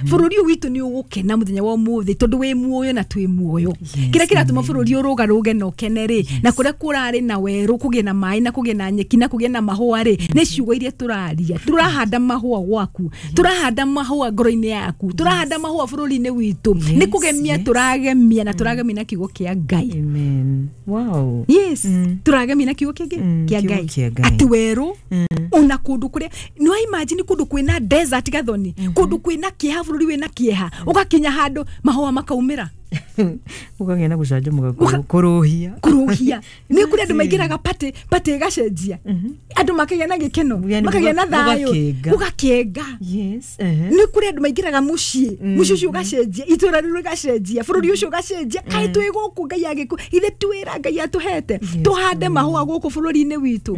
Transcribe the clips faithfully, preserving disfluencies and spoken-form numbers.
Bũrũri ũyũ witũ nĩ ũgũkena mũthenya wa ũmũthĩ tondũ wĩ muoyo na twĩ muoyo. Kĩrĩa kĩratũma bũrũri ũrũgarũge na ũkene rĩ, na kũrĩa kũrarĩ na werũ kũgĩe na maĩ na kũgĩe na nyeki na kũgĩe na mahũa rĩ, nĩ ciugo iria tũraria. Tũrahanda mahũa gwaku, tũrahanda mahũa ngoro-inĩ yaku, tũrahanda mahũa bũrũri-inĩ witũ. Nĩ kũgemia tũragemia na tũragemia na kiugo kĩa Ngai. Amen. Wow. Yes, tũragemia na kiugo kĩngĩ Mm, kĩa kiugo Ngai. kĩa Ngai. Atĩ werũ ona kũndũ kũrĩa nĩ wa imagine kũndũ kwĩna desert gathoni, kũndũ kwĩna kĩeha, bũrũri wĩna kĩeha, ũgakinya handũ mahũa makaumĩra. Ũkagĩa na gũcanjamũka kũrũ- kũrũhia. Kũrũhia nĩ kũrĩ andũ maingĩraga party, party ĩgacenjia, andũ makagĩa na gĩkeno, Yani makagĩa na thayũ, gũgakenga. Gũgakenga. Yes. Uh-huh. Nĩ kũrĩ andũ maingĩraga mũciĩ, mũciĩ ũcio ũgacenjia, itũra rĩu rĩgacenjia, bũrũri ũcio ũgacenjia. Kaĩ twĩ gũkũ Ngai agĩkũ ithe twĩra Ngai atũhete tũhande mahũa gũkũ bũrũri-inĩ witũ,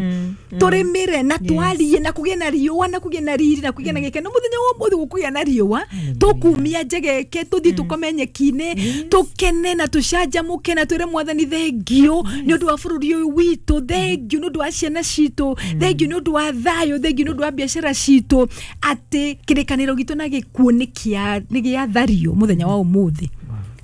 tũrĩmĩre na twarie na kũgĩe na riũa na kũgĩe na riri na kũgĩe na gĩkeno. Mũthenya wa ũmũthĩ gũkũgĩa na riũa, tũkumia njegeke, tũthiĩ tũkome nyeki-inĩ, tũkene na tũcanjamũke na twĩre Mwathani thengiũ nĩ ũndũ wa bũrũri ũyũ witũ, thengiũ nĩ ũndũ wa ciana citũ, thengiũ nĩ ũndũ wa thayũ, thengiũ nĩ ũndũ wa biacara citũ, atĩ kĩrĩkanĩro gitũ na gĩkuũ nĩ kĩa- nĩ gĩathario mũthenya wa ũmũthĩ.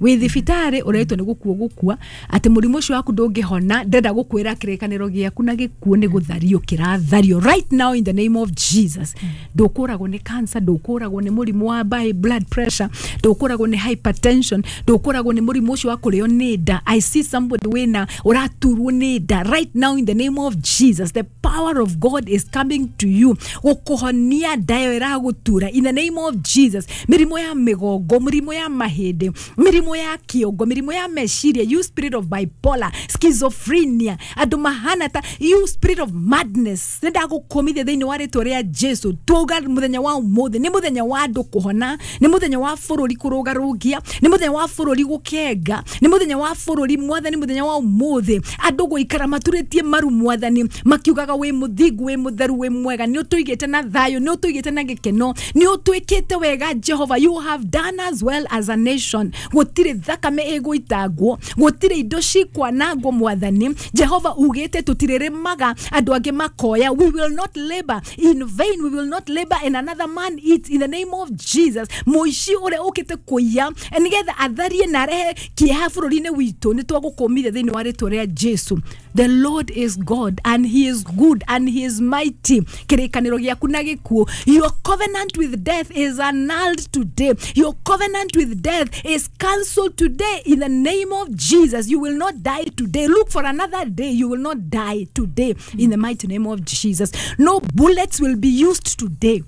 Wĩ thibitarĩ ũretwo nĩ gũkua gũkua, atĩ mũrimũ ũcio waku ndũngĩhona, ndĩrenda gũkwĩra kĩrĩkanĩro gĩaku na gĩkuũ nĩ gũthario kĩrathario right now in the name of Jesus. Ndũkũragwo nĩ cancer, ndũkũragwo nĩ mũrimũ wa high blood pressure, ndũkũragwo nĩ hypertension, ndũkũragwo nĩ mũrimũ ũcio wa kũrĩo nĩ nda. I see somebody wĩna ũraturwo nĩ nda right now. In the name of Jesus, the power of God is coming to you gũkũhonia nda ĩyo ĩragũtura in the name of Jesus. Mĩrimũ ya mĩgongo, mĩrimũ ya mahĩndĩ, mĩrimũ ya kĩongo, mĩrimũ ya meciria, you spirit of bipolar, schizophrenia, andũ mahana ta you spirit of madness, nĩ ndagũkũmithia thĩinĩ wa rĩtwa rĩa Jesu. Tuga mũthenya wa ũmũthĩ nĩ mũthenya wa andũ kũhona, nĩ mũthenya wa bũrũri kũrũgarũngia, nĩ mũthenya wa bũrũri gũkenga, nĩ mũthenya wa bũrũri Mwathani, mũthenya wa ũmũthĩ andũ gũikara maturĩtie maru Mwathani makiugaga wĩ mũthingu, wĩ mũtheru, wĩ mwega, nĩ ũtũigĩte na thayũ, nĩ ũtũigĩte na gĩkeno, nĩ ũtwĩkĩte wega. Jehova, you have done as well as a nation. Gũtirĩ thakame ĩgũitangwo, gũtirĩ indo cikwanangwo. Mwathani Jehova ugĩte tũtirĩrĩmaga andũ angĩ makoya. We will not labor in vain, we will not labor and another man eats in the name of Jesus. Mũici ũrĩa ũkĩte kũiya nĩgetha atharie na arehe kĩeha bũrũri-inĩ witũ, nĩ twagũkũmithia thĩinĩ wa rĩtwa rĩa Jesu. The Lord is God and he is good and he is mighty. Kĩrĩkanĩro gĩaku na gĩkuũ, your covenant with death is annulled today. Your covenant with death is cancelled today in the name of Jesus. You will not die today. Look for another day. You will not die today in the mighty name of Jesus. No bullets will be used today.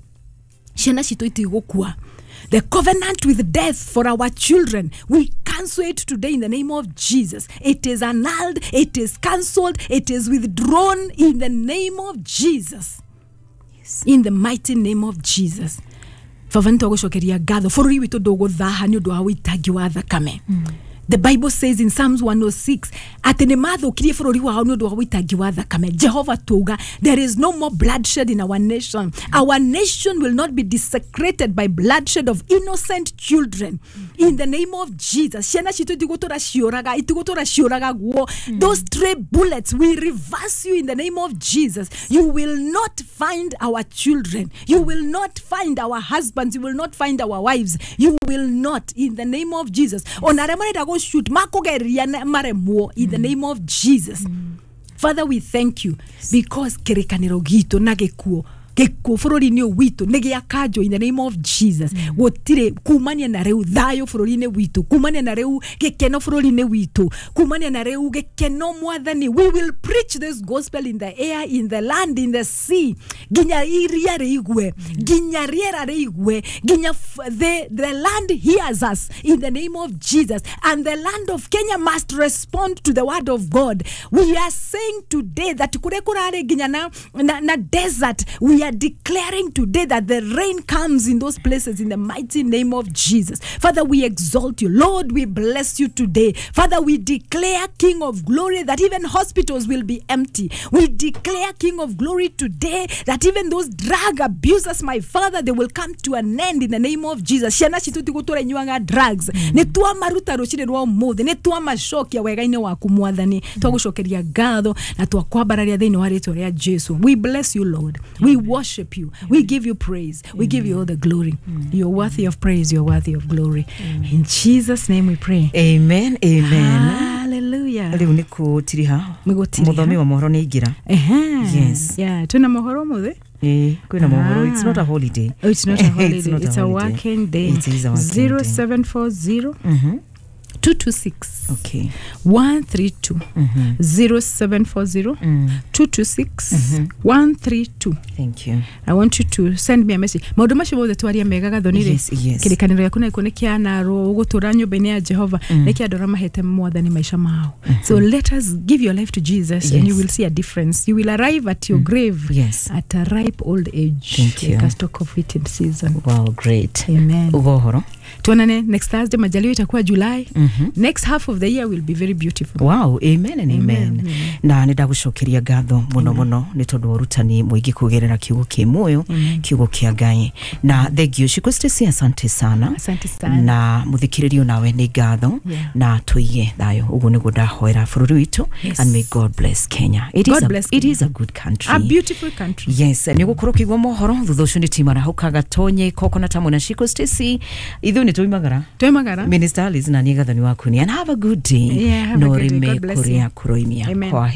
Ciana citũ itigũkua. The covenant with death for our children, we cancel it today in the name of Jesus. It is annulled, it is cancelled, it is withdrawn in the name of Jesus. In the mighty name of Jesus. Baba, nĩ twagũcokeria ngatho. Bũrũri witũ ndũgũthaha nĩ ũndũ wa ũitangi wa thakame. The Bible says in Psalms one oh six atĩ nĩ mathũkirie bũrũri wao nĩ ũndũ wa ũitangi wa thakame. Jehova, tuga there is no more bloodshed in our nation. Our nation will not be desecrated by bloodshed of innocent children in the name of Jesus. Ciana citũ itigũtũra ciũraga, itigũtũra ciũragagwo. Those stray bullets, we reverse you in the name of Jesus. You will not find our children, you will not find our husbands, you will not find our wives, you will not in the name of Jesus. Ona arĩa marenda gũshoot makũgeria na maremwo in the name of Jesus. Father, we thank you because kĩrĩkanĩro gitũ na gĩkuũ, gĩkuũ bũrũri-inĩ ũyũ witũ nĩ gĩakanjwo in the name of Jesus. Gũtirĩ kumania na rĩu thayũ bũrũri-inĩ witũ, kumania na rĩu gĩkeno bũrũri-inĩ witũ, kumania na rĩu gĩkeno. Mwathani, we will preach this gospel in the air, in the land, in the sea, nginya iria rĩigue, nginya rĩera rĩigue, nginya f- the, the land hears us in the name of Jesus. And the land of Kenya must respond to the word of God. We are saying today that kũrĩa kũrarĩ nginya na, na, na desert, we are declaring today that the rain comes in those places in the mighty name of Jesus. Father, we exalt you. Lord, we bless you today. Father, we declare, King of glory, that even hospitals will be empty. We declare, King of glory, today that even those drug abusers, my Father, they will come to an end in the name of Jesus. Ciana citũ itigũtũra inyuaga drugs. Nĩ twamaruta rũcinĩ rwa ũmũthĩ, nĩ twamacokia wega-inĩ waku Mwathani. Twagũcokeria ngatho na twakwambararia thĩinĩ wa rĩtwa rĩa Jesu. We bless you, Lord. We worship worship you. We give you praise. We give you all the glory. You're worthy of praise. You're worthy of glory. In Jesus' name we pray. Amen, amen. Hallelujah. Rĩu nĩ kũtiriha. Nĩ gũtiriha. Mũthomi wa mohoro nĩ aingĩra. Ehe. Yes. Yeah, twina mohoro mũthĩ. Ĩĩ, kwĩna mohoro. It's Ah. not a holiday. Oh, it's not a holiday. It's not a It's a holiday. working day. It is a working day. zero seven four zero Mhm. two two six Okay. one three two Mhm. zero seven four zero Mm. two two six one three two. Thank you. I want you to send me a message. Maũndũ macio mothe twaria mega gathoni rĩ, Yes, yes. kĩrĩkanĩro gĩaku na gĩkuũ nĩ kĩanarwo ũgũtũra nyũmba-inĩ ya Jehova, nĩ kĩa andũ arĩa mahete mwathani maica mao. So let us give your life to Jesus and Yes. you will see a difference. You will arrive at your grave Yes. at a ripe old age. Thank you. Like a stalk of wheat in season. Wow, great. Amen. Uga ũhoro. Tuonane next Thursday, majaliwa itakuwa July. Mhm. Next half of the year will be very beautiful. Wow, amen and amen. Amen. Na nä ndagå ngatho må no nä tondå wa ũrutani mũingĩ kũgerera kiugo kä muoyo, kiugo kĩa Ngai, na thengio Shiko Stacy, asante sana. Asante sana. Na mũthikĩrĩrio nawe nĩ ngatho. Yeah. Na tũige thayũ, ũguo nĩguo ndahoera bũrũri witũ. Yes. And may God bless Kenya. It is God a, bless it Kenya. is a good country. A beautiful country. Yes, nä gå korwo kä igua mohoro thutha å cio nä timarahå gatonye koko tamwe na Shiko Stacy, ithuä nä tũimagara. Twemagara. Minister Alice na niĩ gathoni waku ni, and have a good day. Yeah, have a no good day. rĩme God bless you. kũrĩa kũroimia. Amen. Kwa